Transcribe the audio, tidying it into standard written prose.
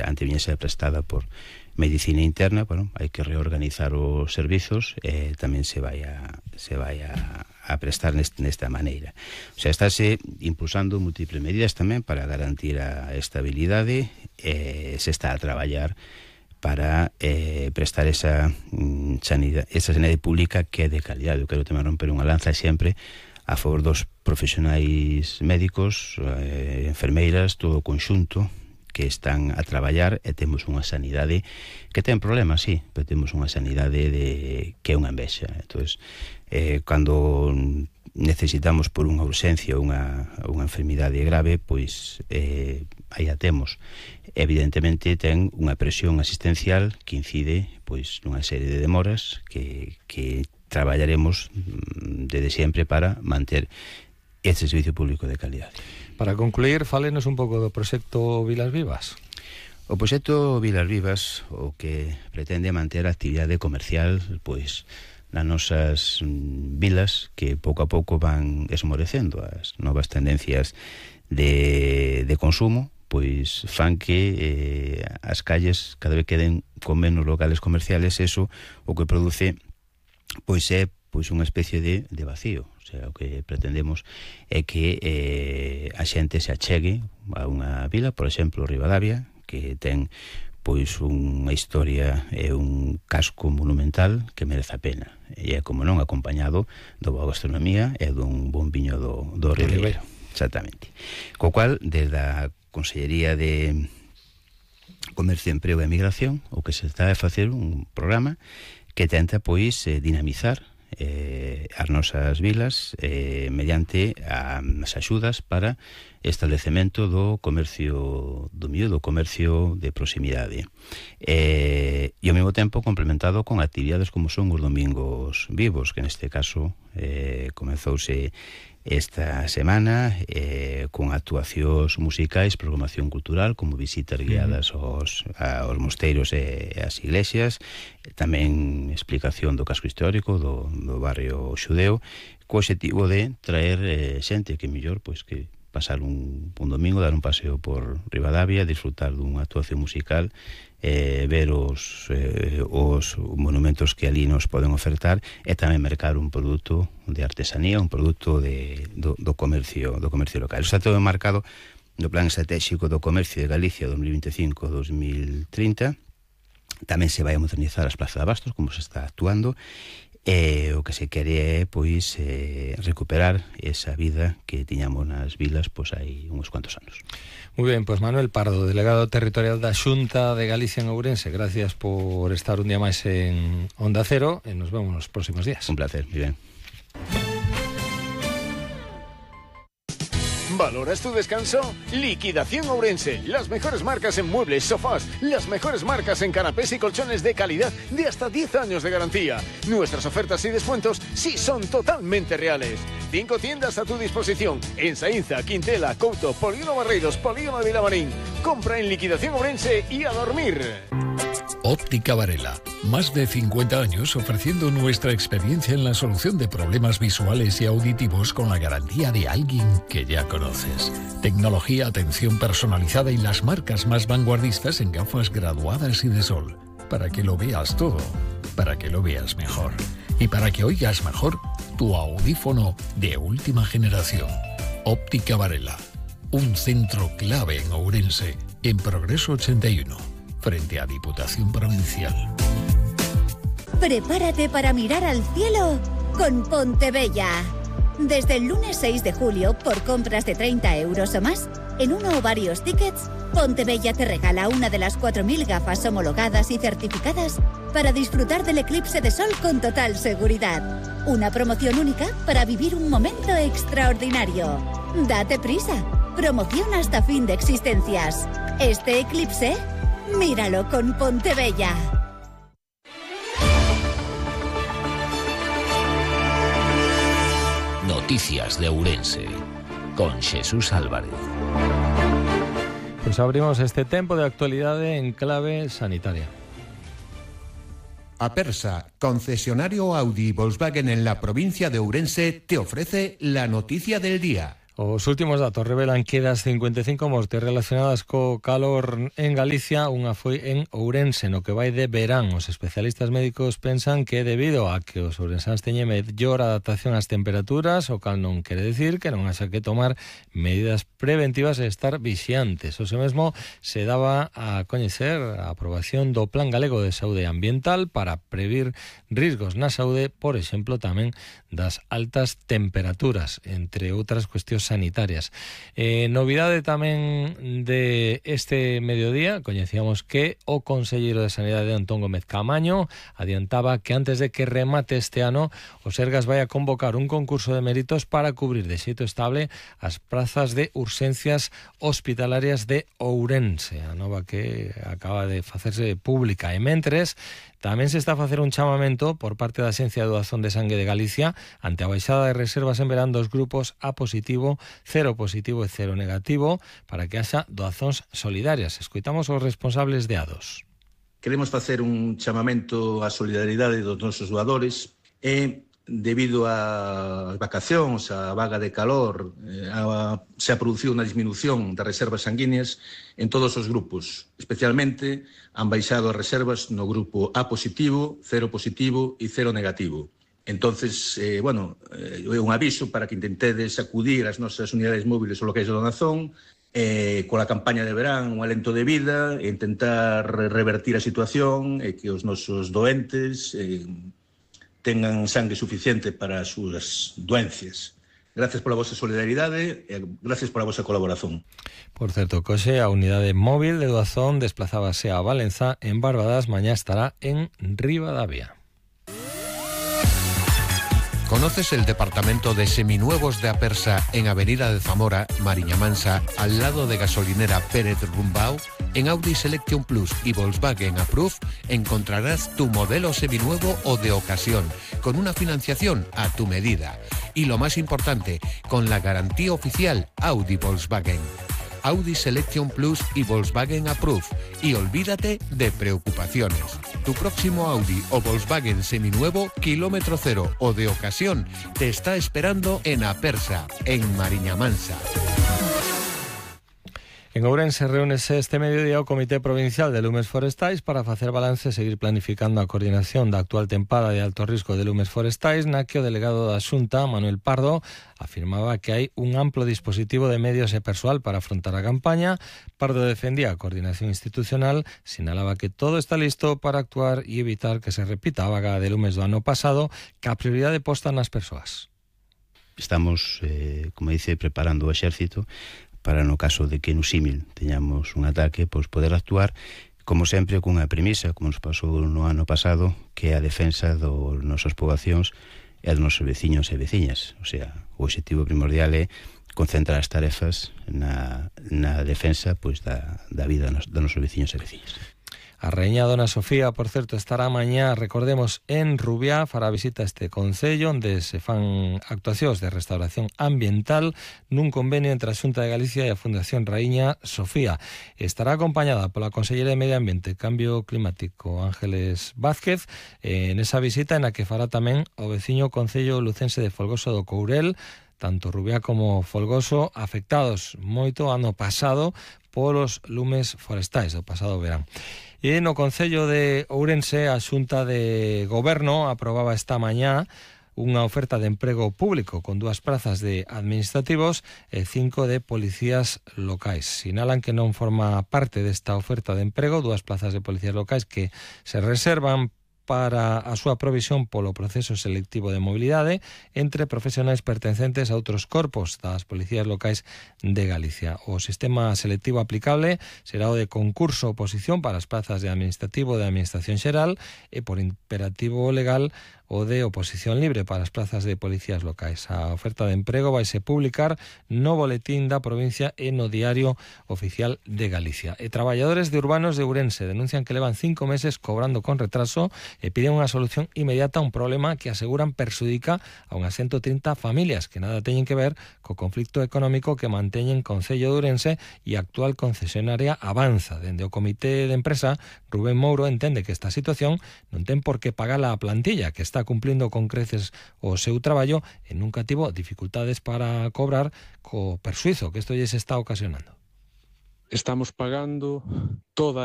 ante viña ser prestada por medicina interna, bueno, hai que reorganizar os servizos, tamén se vai a prestar nesta maneira. O sea, estáse impulsando múltiples medidas tamén para garantir a estabilidade, se está a traballar para prestar esa sanidade pública que é de calidade. Eu quero tamén romper unha lanza sempre a favor dos profesionais médicos, enfermeiras, todo o conxunto que están a traballar, e temos unha sanidade que ten problemas, sí, pero temos unha sanidade que é unha envexa. Entonces, cando necesitamos por unha urxencia unha enfermidade grave, pois aí a temos. Evidentemente ten unha presión asistencial que incide pois nunha serie de demoras que traballaremos desde sempre para manter este servicio público de calidade. Para concluir, fálenos un pouco do proxecto Vilas Vivas. O proxecto Vilas Vivas o que pretende manter a actividade comercial pois nas nosas vilas, que pouco a pouco van esmorecendo. As novas tendencias de consumo pois fan que as calles cada vez queden con menos locales comerciales. Eso o que produce pois é unha especie de vacío. O sea, o que pretendemos é que a xente se achegue a unha vila, por exemplo, Ribadavia, que ten pois unha historia e un casco monumental que merece a pena, e é como non acompañado da boa gastronomía e dun bon viño do Ribeiro. Exactamente. Co cual, desde a Consellería de Comercio, Emprego e Migración, o que se está a facer un programa que tenta pois dinamizar as nosas vilas mediante as axudas para establecemento do comercio do miúdo, do comercio de proximidade, e ao mesmo tempo complementado con actividades como son os domingos vivos, que neste caso comezouse esta semana con actuacións musicais, programación cultural, como visitas guiadas aos mosteiros e ás iglesias, tamén explicación do casco histórico do barrio xudeo, co obxectivo de traer xente que mellor pois que pasar un domingo, dar un paseo por Ribadavia, disfrutar dunha actuación musical, ver os monumentos que ali nos poden ofertar, e tamén mercar un produto de artesanía, un produto do comercio local. Está todo marcado no Plan Estratégico do Comercio de Galicia 2025-2030. Tamén se vai a modernizar as plazas de abastos, como se está actuando, e o que se quere é pois recuperar esa vida que tiñamos nas vilas pois hai uns cuantos anos. Muy bien, pues Manuel Pardo, delegado territorial da Xunta de Galicia en Ourense, gracias por estar un día máis en Onda Cero, e nos vemos nos próximos días. Un placer, muy bien. ¿Valoras tu descanso? Liquidación Ourense. Las mejores marcas en muebles, sofás, las mejores marcas en canapés y colchones de calidad de hasta 10 años de garantía. Nuestras ofertas y descuentos sí son totalmente reales. 5 tiendas a tu disposición en Saínza, Quintela, Couto, Polígono Barreiros, Polígono de Vilamarín. Compra en Liquidación Ourense y a dormir. Óptica Varela, más de 50 años ofreciendo nuestra experiencia en la solución de problemas visuales y auditivos con la garantía de alguien que ya conoces. Tecnología, atención personalizada y las marcas más vanguardistas en gafas graduadas y de sol. Para que lo veas todo, para que lo veas mejor y para que oigas mejor tu audífono de última generación. Óptica Varela, un centro clave en Ourense, en Progreso 81. Frente a Diputación Provincial. Prepárate para mirar al cielo con Pontebella. Desde el lunes 6 de julio, por compras de 30 euros o más, en uno o varios tickets, Pontebella te regala una de las 4.000 gafas homologadas y certificadas para disfrutar del eclipse de sol con total seguridad. Una promoción única para vivir un momento extraordinario. Date prisa. Promoción hasta fin de existencias. Este eclipse, míralo con Pontebella. Noticias de Ourense con Jesús Álvarez. Pues abrimos este tempo de actualidade en clave sanitaria. Apersa, concesionario Audi y Volkswagen en la provincia de Ourense, te ofrece la noticia del día. Os últimos datos revelan que das 55 mortes relacionadas co calor en Galicia, unha foi en Ourense, no que vai de verán. Os especialistas médicos pensan que debido a que os ourensáns teñen mellor adaptación ás temperaturas, o cal non quere decir que non haxa que tomar medidas preventivas e estar vixiantes. O mesmo se daba a coñecer a aprobación do Plan Galego de Saúde Ambiental para previr risgos na saúde, por exemplo, tamén das altas temperaturas, entre outras cuestións sanitarias. Novidade tamén de este mediodía, coñecíamos que o conselleiro de Sanidade Antón Gómez Caamaño adiantaba que antes de que remate este ano o Sergas vai a convocar un concurso de méritos para cubrir de xeito estable as prazas de urxencias hospitalarias de Ourense, a nova que acaba de facerse pública. E mentres, tamén se está a facer un chamamento por parte da Axencia de Doazón de Sangue de Galicia ante a baixada de reservas en verán dos grupos A positivo, cero positivo e cero negativo para que haxa doazóns solidarias. Escoitamos os responsables de A2. Queremos facer un chamamento á solidaridade dos nosos doadores e debido ás vacacións, a vaga de calor, se ha producido unha disminución das reservas sanguíneas en todos os grupos. Especialmente han baixado as reservas no grupo A positivo, cero positivo e cero negativo. Entonces, é un aviso para que intentedes acudir ás nosas unidades móviles ou locais de donación coa campaña de verán, un alento de vida, e intentar revertir a situación e que os nosos doentes tengan sangue suficiente para as súas doencias. Gracias pola vosa solidaridade e gracias pola vosa colaboración. Por certo, coxe a unidade móvil de doazón desplazábase a Valenza, en Barbadas, mañá estará en Ribadavia. ¿Conoces el departamento de seminuevos de Apersa en Avenida de Zamora, Mariña Mansa, al lado de gasolinera Pérez Rumbao? En Audi Selection Plus y Volkswagen Approve encontrarás tu modelo seminuevo o de ocasión, con una financiación a tu medida. Y lo más importante, con la garantía oficial Audi Volkswagen. Audi Selection Plus y Volkswagen Approve. Y olvídate de preocupaciones. Tu próximo Audi o Volkswagen seminuevo, kilómetro cero o de ocasión, te está esperando en Apersa, en Mariña Mansa. En Ourense reúnese este mediodía o Comité Provincial de Lumes Forestais para facer balance e seguir planificando a coordinación da actual tempada de alto risco de lumes forestais, na que o delegado da Xunta, Manuel Pardo, afirmaba que hai un amplo dispositivo de medios e persoal para afrontar a campaña. Pardo defendía a coordinación institucional, sinalaba que todo está listo para actuar e evitar que se repita a vaga de lumes do ano pasado, que a prioridade posta nas persoas. Estamos, como dice, preparando o exército para no caso de que no símil teñamos un ataque, pois poder actuar, como sempre, cunha premisa, como nos pasou no ano pasado, que é a defensa dos nosos poboacións e dos nosos veciños e veciñas. O sea, o objetivo primordial é concentrar as tarefas na defensa pois da vida dos nosos veciños e veciñas. A Raíña Dona Sofía, por certo, estará mañá, recordemos, en Rubiá, fará visita a este concello onde se fan actuacións de restauración ambiental nun convenio entre a Xunta de Galicia e a Fundación Raíña Sofía. Estará acompañada pola consellera de Medio Ambiente e Cambio Climático, Ángeles Vázquez, en esa visita en a que fará tamén o veciño concello lucense de Folgoso do Courel, tanto Rubiá como Folgoso, afectados moito ano pasado polos lumes forestais do pasado verán. E no Concello de Ourense, a Xunta de Goberno aprobaba esta mañá unha oferta de emprego público con 2 prazas de administrativos e 5 de policías locais. Sinalan que non forma parte desta oferta de emprego 2 plazas de policías locais que se reservan para a súa provisión polo proceso selectivo de mobilidade entre profesionais pertencentes a outros corpos das policías locais de Galicia. O sistema selectivo aplicable será o de concurso-oposición para as plazas de administrativo de Administración Xeral e por imperativo legal o de oposición libre para as plazas de policías locais. A oferta de emprego vaise publicar no boletín da provincia e no Diario Oficial de Galicia. E traballadores de urbanos de Ourense denuncian que levan 5 meses cobrando con retraso e piden unha solución inmediata a un problema que aseguran perxudica a unhas 130 familias que nada teñen que ver co conflicto económico que manteñen Concello de Ourense e a actual concesionaria Avanza. Dende o comité de empresa, Rubén Mouro entende que esta situación non ten por que pagala a plantilla, que está cumplindo con creces o seu traballo e nunca tivo dificultades para cobrar co persuizo que isto lles está ocasionando. Estamos pagando toda